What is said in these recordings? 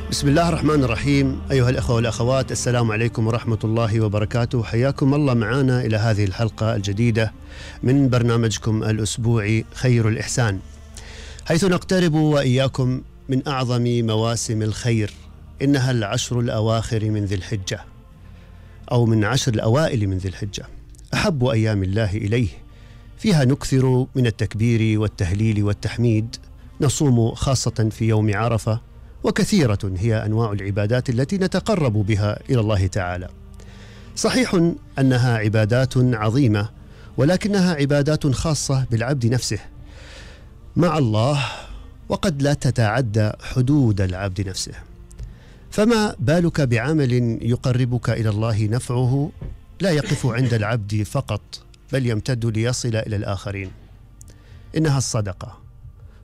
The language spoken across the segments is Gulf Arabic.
بسم الله الرحمن الرحيم. أيها الأخوة والأخوات، السلام عليكم ورحمة الله وبركاته. حياكم الله معنا إلى هذه الحلقة الجديدة من برنامجكم الأسبوعي خير الإحسان، حيث نقترب وإياكم من أعظم مواسم الخير. إنها العشر الأواخر من ذي الحجة، أو من عشر الأوائل من ذي الحجة، أحب أيام الله إليه. فيها نكثر من التكبير والتهليل والتحميد، نصوم خاصة في يوم عرفة، وكثيرة هي أنواع العبادات التي نتقرب بها إلى الله تعالى. صحيح أنها عبادات عظيمة، ولكنها عبادات خاصة بالعبد نفسه مع الله، وقد لا تتعدى حدود العبد نفسه. فما بالك بعمل يقربك إلى الله نفعه لا يقف عند العبد فقط، بل يمتد ليصل إلى الآخرين. إنها الصدقة.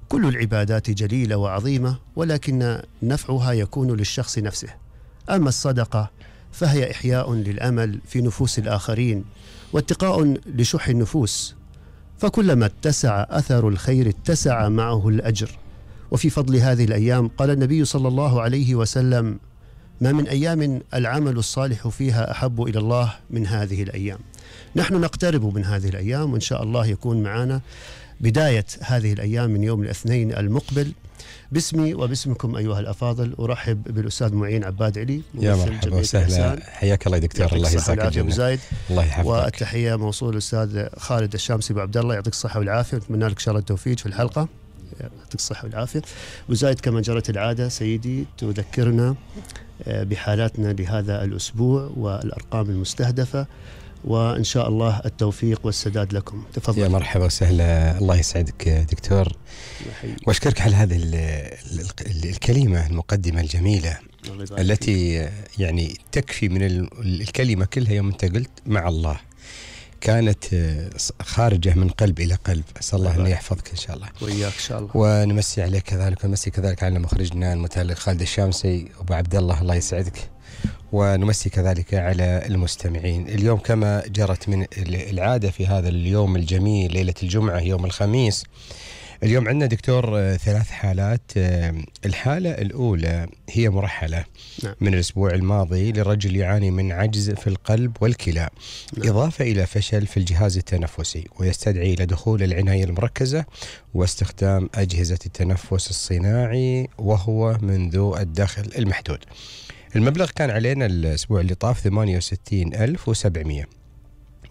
كل العبادات جليلة وعظيمة، ولكن نفعها يكون للشخص نفسه. أما الصدقة فهي إحياء للأمل في نفوس الآخرين، واتقاء لشح النفوس. فكلما اتسع أثر الخير اتسع معه الأجر. وفي فضل هذه الأيام قال النبي صلى الله عليه وسلم: ما من أيام العمل الصالح فيها أحب إلى الله من هذه الأيام. نحن نقترب من هذه الأيام، وإن شاء الله يكون معنا بداية هذه الأيام من يوم الاثنين المقبل. باسمي وباسمكم أيها الأفاضل أرحب بالأستاذ معين عباد علي. يا مرحبا وسهلا، حياك الله يا دكتور. الله يجزاك الجنة. الله يحفظك. والتحية موصول الأستاذ خالد الشامسي أبو عبد الله، يعطيك الصحة والعافية، نتمنى لك إن شاء الله التوفيق في الحلقة. يعطيك الصحة والعافية. وزايد كما جرت العادة سيدي تذكرنا بحالاتنا لهذا الأسبوع والأرقام المستهدفة، وإن شاء الله التوفيق والسداد لكم. تفضل. يا مرحبا وسهلا، الله يسعدك دكتور، واشكرك على هذه الكلمة المقدمة الجميلة التي يعني تكفي من الكلمة كلها. يوم أنت قلت مع الله كانت خارجة من قلب إلى قلب. أسأل الله أن يحفظك إن شاء الله وإياك إن شاء الله، ونمسي عليك كذلك، ونمسي كذلك على مخرجنا المتألق خالد الشامسي أبو عبد الله، الله يسعدك، ونمسي كذلك على المستمعين. اليوم كما جرت من العادة في هذا اليوم الجميل، ليلة الجمعة يوم الخميس، اليوم عندنا دكتور 3 حالات. الحالة الأولى هي مرحلة من الأسبوع الماضي لرجل يعاني من عجز في القلب والكلى، إضافة إلى فشل في الجهاز التنفسي، ويستدعي إلى دخول العناية المركزة واستخدام أجهزة التنفس الصناعي، وهو من ذو الدخل المحدود. المبلغ كان علينا الأسبوع اللي طاف 68,700،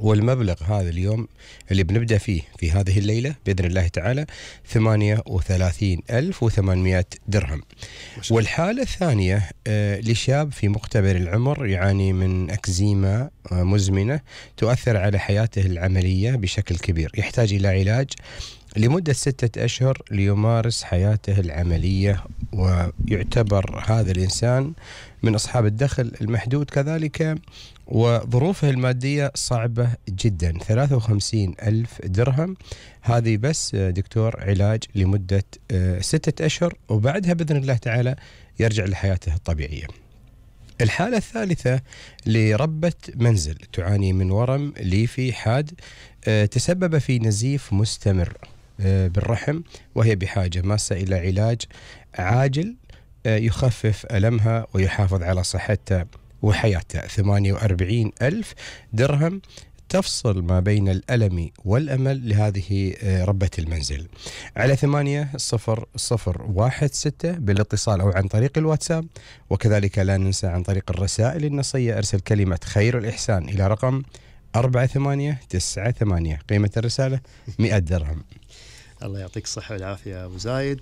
والمبلغ هذا اليوم اللي بنبدأ فيه في هذه الليلة بإذن الله تعالى 38,800 درهم. والحالة الثانية لشاب في مقتبل العمر يعاني من أكزيما مزمنة تؤثر على حياته العملية بشكل كبير، يحتاج إلى علاج لمدة 6 أشهر ليمارس حياته العملية، ويعتبر هذا الإنسان من أصحاب الدخل المحدود كذلك، وظروفه المادية صعبة جدا. 53,000 درهم هذه بس دكتور علاج لمدة 6 أشهر، وبعدها بإذن الله تعالى يرجع لحياته الطبيعية. الحالة الثالثة لربة منزل تعاني من ورم ليفي حاد تسبب في نزيف مستمر بالرحم، وهي بحاجة ماسة إلى علاج عاجل يخفف ألمها ويحافظ على صحتها وحياتها. 48,000 درهم تفصل ما بين الألم والأمل لهذه ربة المنزل. على 80,016 بالاتصال أو عن طريق الواتساب، وكذلك لا ننسى عن طريق الرسائل النصية أرسل كلمة خير الإحسان إلى رقم 4898. قيمة الرسالة 100 درهم. الله يعطيك الصحة والعافية يا أبو زايد.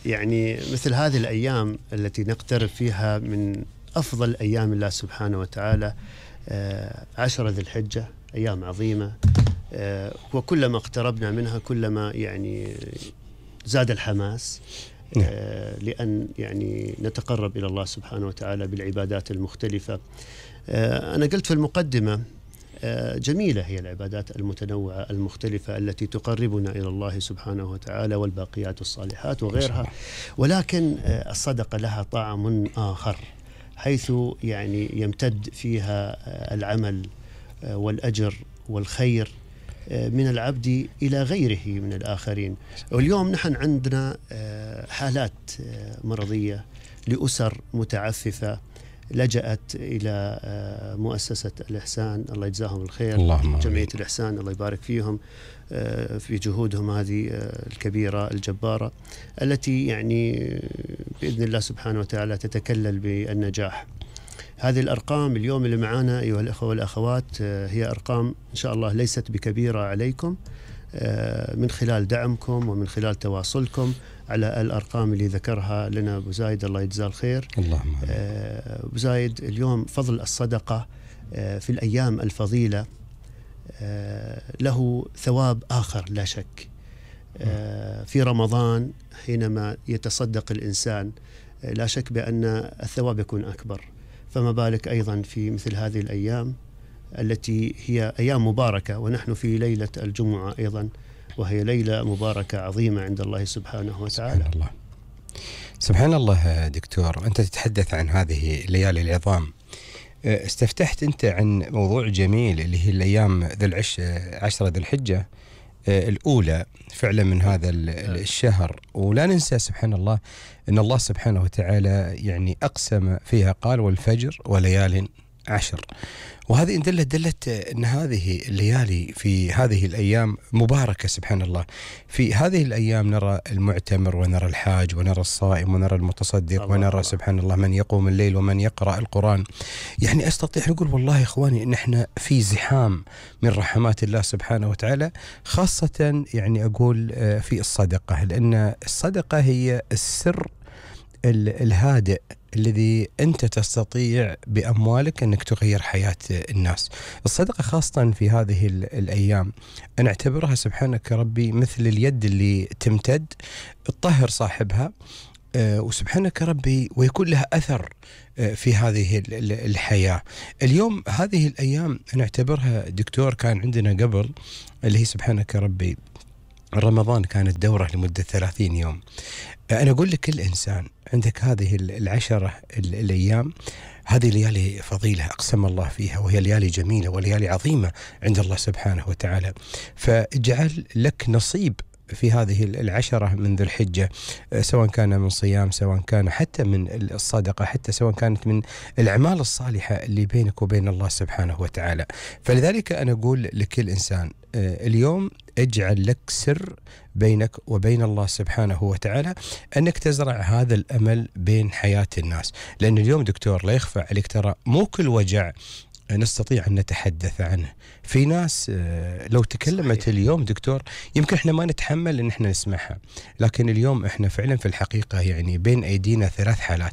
يعني مثل هذه الأيام التي نقترب فيها من أفضل أيام الله سبحانه وتعالى، 10 ذي الحجة، أيام عظيمة، وكلما اقتربنا منها كلما يعني زاد الحماس، لأن يعني نتقرب إلى الله سبحانه وتعالى بالعبادات المختلفة. أنا قلت في المقدمة جميلة هي العبادات المتنوعة المختلفة التي تقربنا إلى الله سبحانه وتعالى، والباقيات الصالحات وغيرها، ولكن الصدقة لها طعم آخر، حيث يعني يمتد فيها العمل والأجر والخير من العبد إلى غيره من الآخرين. واليوم نحن عندنا حالات مرضية لأسر متعففة لجأت إلى مؤسسة الإحسان، الله يجزاهم الخير، جمعية الإحسان الله يبارك فيهم في جهودهم هذه الكبيرة الجبارة التي يعني بإذن الله سبحانه وتعالى تتكلل بالنجاح. هذه الأرقام اليوم اللي معانا أيها الأخوة والأخوات هي أرقام إن شاء الله ليست بكبيرة عليكم، من خلال دعمكم ومن خلال تواصلكم على الأرقام اللي ذكرها لنا أبو زايد الله يجزاه الخير. اللهم أبو زايد، اليوم فضل الصدقة في الأيام الفضيلة له ثواب آخر لا شك. في رمضان حينما يتصدق الإنسان لا شك بأن الثواب يكون أكبر، فما بالك أيضا في مثل هذه الأيام التي هي أيام مباركة، ونحن في ليلة الجمعة أيضا وهي ليلة مباركة عظيمة عند الله سبحانه وتعالى. سبحان الله سبحان الله. دكتور، أنت تتحدث عن هذه الليالي العظام، استفتحت أنت عن موضوع جميل اللي هي الأيام عشرة ذي الحجة الأولى فعلا من هذا الشهر. ولا ننسى سبحان الله أن الله سبحانه وتعالى يعني أقسم فيها قال والفجر وليال عشر، وهذه دلت أن هذه الليالي في هذه الأيام مباركة سبحان الله. في هذه الأيام نرى المعتمر ونرى الحاج ونرى الصائم ونرى المتصدق ونرى سبحان الله من يقوم الليل ومن يقرأ القرآن. يعني أستطيع أقول والله يا إخواني إن إحنا في زحام من رحمات الله سبحانه وتعالى، خاصة يعني أقول في الصدقة، لأن الصدقة هي السر الهادئ الذي أنت تستطيع بأموالك أنك تغير حياة الناس. الصدقة خاصة في هذه الأيام أنا أعتبرها سبحانك ربي مثل اليد اللي تمتد تطهر صاحبها وسبحانك ربي ويكون لها أثر في هذه الحياة. اليوم هذه الأيام أنا أعتبرها دكتور كان عندنا قبل اللي هي سبحانك ربي رمضان كانت دورة لمدة 30 يوم. أنا أقول لكل إنسان عندك هذه العشرة الأيام، هذه ليالي فضيلة أقسم الله فيها، وهي ليالي جميلة وليالي عظيمة عند الله سبحانه وتعالى، فاجعل لك نصيب في هذه العشرة من ذي الحجة، سواء كان من صيام، سواء كان حتى من الصدقة، حتى سواء كانت من الأعمال الصالحة اللي بينك وبين الله سبحانه وتعالى. فلذلك أنا أقول لكل إنسان اليوم اجعل لك سر بينك وبين الله سبحانه وتعالى أنك تزرع هذا الأمل بين حياة الناس، لأن اليوم دكتور لا يخفى عليك ترى مو كل وجع نستطيع أن نتحدث عنه. في ناس لو تكلمت صحيح. اليوم دكتور يمكن احنا ما نتحمل ان احنا نسمعها، لكن اليوم احنا فعلا في الحقيقة يعني بين ايدينا 3 حالات،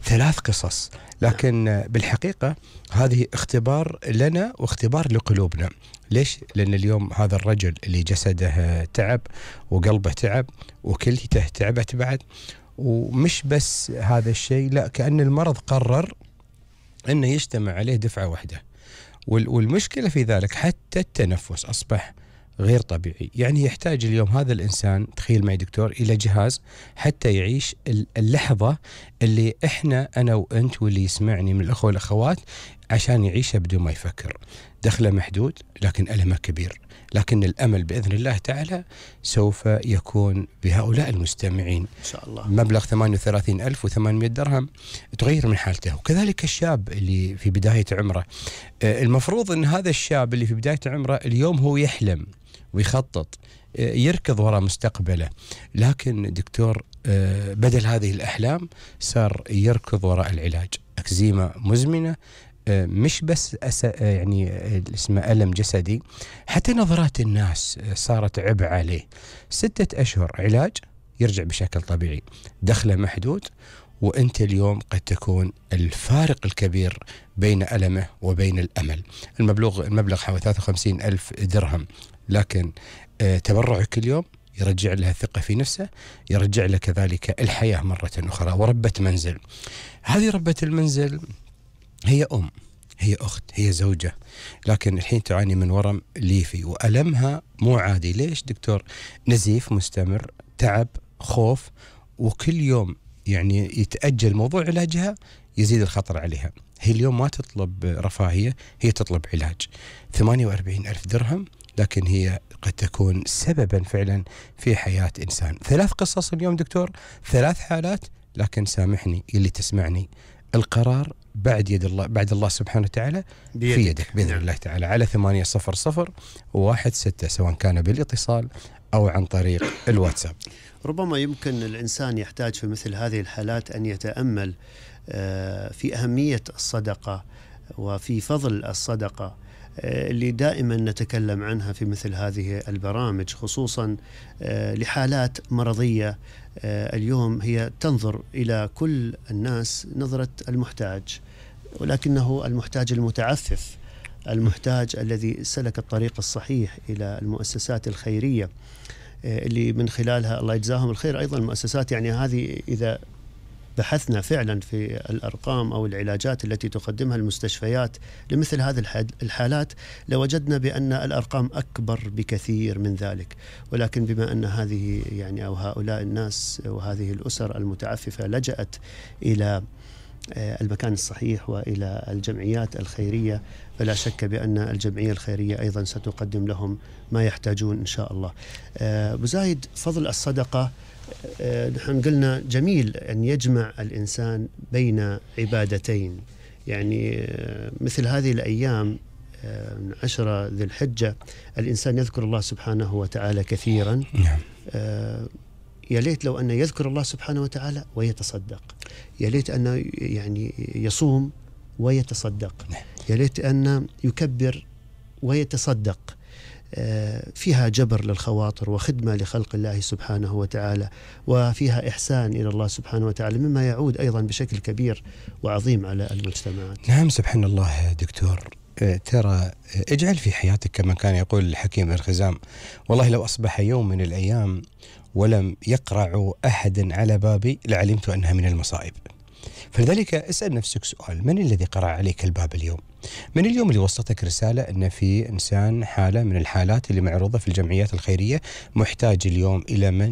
3 قصص، لكن بالحقيقة هذه اختبار لنا واختبار لقلوبنا. ليش؟ لأن اليوم هذا الرجل اللي جسده تعب وقلبه تعب وكليته تعبت بعد، ومش بس هذا الشيء، لا كأن المرض قرر أنه يجتمع عليه دفعة واحدة، والمشكلة في ذلك حتى التنفس أصبح غير طبيعي. يعني يحتاج اليوم هذا الإنسان، تخيل معي دكتور، إلى جهاز حتى يعيش اللحظة اللي إحنا أنا وأنت واللي يسمعني من الأخوة والأخوات عشان يعيشها بدون ما يفكر. دخله محدود لكن ألمه كبير، لكن الأمل بإذن الله تعالى سوف يكون بهؤلاء المستمعين إن شاء الله. مبلغ 38,800 درهم تغير من حالته. وكذلك الشاب اللي في بداية عمره، المفروض أن هذا الشاب اللي في بداية عمره اليوم هو يحلم ويخطط يركض وراء مستقبله، لكن دكتور بدل هذه الأحلام صار يركض وراء العلاج. أكزيما مزمنة، مش بس يعني اسمه ألم جسدي، حتى نظرات الناس صارت عبء عليه. 6 أشهر علاج يرجع بشكل طبيعي، دخله محدود، وأنت اليوم قد تكون الفارق الكبير بين ألمه وبين الأمل. المبلغ حوالي 53,000 درهم، لكن تبرعك اليوم يرجع لها الثقة في نفسه، يرجع له كذلك الحياة مرة أخرى. وربة منزل، هذه ربة المنزل هي أم، هي أخت، هي زوجة، لكن الحين تعاني من ورم ليفي وألمها مو عادي. ليش دكتور؟ نزيف مستمر، تعب، خوف، وكل يوم يعني يتأجل موضوع علاجها يزيد الخطر عليها. هي اليوم ما تطلب رفاهية، هي تطلب علاج. 48,000 درهم لكن هي قد تكون سببا فعلا في حياة إنسان. 3 قصص اليوم دكتور، 3 حالات، لكن سامحني اللي تسمعني، القرار بعد يد الله، بعد الله سبحانه وتعالى في يدك بإذن الله تعالى. على 800-160 سواء كان بالاتصال أو عن طريق الواتساب. ربما يمكن الإنسان يحتاج في مثل هذه الحالات أن يتأمل في أهمية الصدقة وفي فضل الصدقة اللي دائما نتكلم عنها في مثل هذه البرامج، خصوصا لحالات مرضية. اليوم هي تنظر إلى كل الناس نظرة المحتاج، ولكنه المحتاج المتعفف، المحتاج الذي سلك الطريق الصحيح إلى المؤسسات الخيرية اللي من خلالها الله يجزاهم الخير أيضا المؤسسات. يعني هذه إذا بحثنا فعلا في الأرقام أو العلاجات التي تقدمها المستشفيات لمثل هذه الحالات لوجدنا بأن الأرقام أكبر بكثير من ذلك. ولكن بما أن هذه يعني أو هؤلاء الناس وهذه الأسر المتعففة لجأت إلى المكان الصحيح وإلى الجمعيات الخيرية، فلا شك بأن الجمعية الخيرية أيضا ستقدم لهم ما يحتاجون إن شاء الله. أبو زايد، فضل الصدقة، نحن قلنا جميل أن يجمع الإنسان بين عبادتين. يعني مثل هذه الأيام 10 ذي الحجة الإنسان يذكر الله سبحانه وتعالى كثيرا. يا ليت لو أن يذكر الله سبحانه وتعالى ويتصدق، يا ليت أن يعني يصوم ويتصدق، يا ليت أن يكبر ويتصدق. فيها جبر للخواطر وخدمة لخلق الله سبحانه وتعالى، وفيها إحسان إلى الله سبحانه وتعالى، مما يعود أيضا بشكل كبير وعظيم على المجتمعات. نعم سبحان الله دكتور. ترى اجعل في حياتك كما كان يقول الحكيم بن خزام، والله لو أصبح يوم من الأيام ولم يقرع أحد على بابي لعلمت أنها من المصائب. فلذلك اسأل نفسك سؤال: من الذي قرع عليك الباب اليوم؟ من اليوم اللي وصلتك رسالة أن في إنسان حالة من الحالات اللي معروضة في الجمعيات الخيرية محتاج اليوم إلى من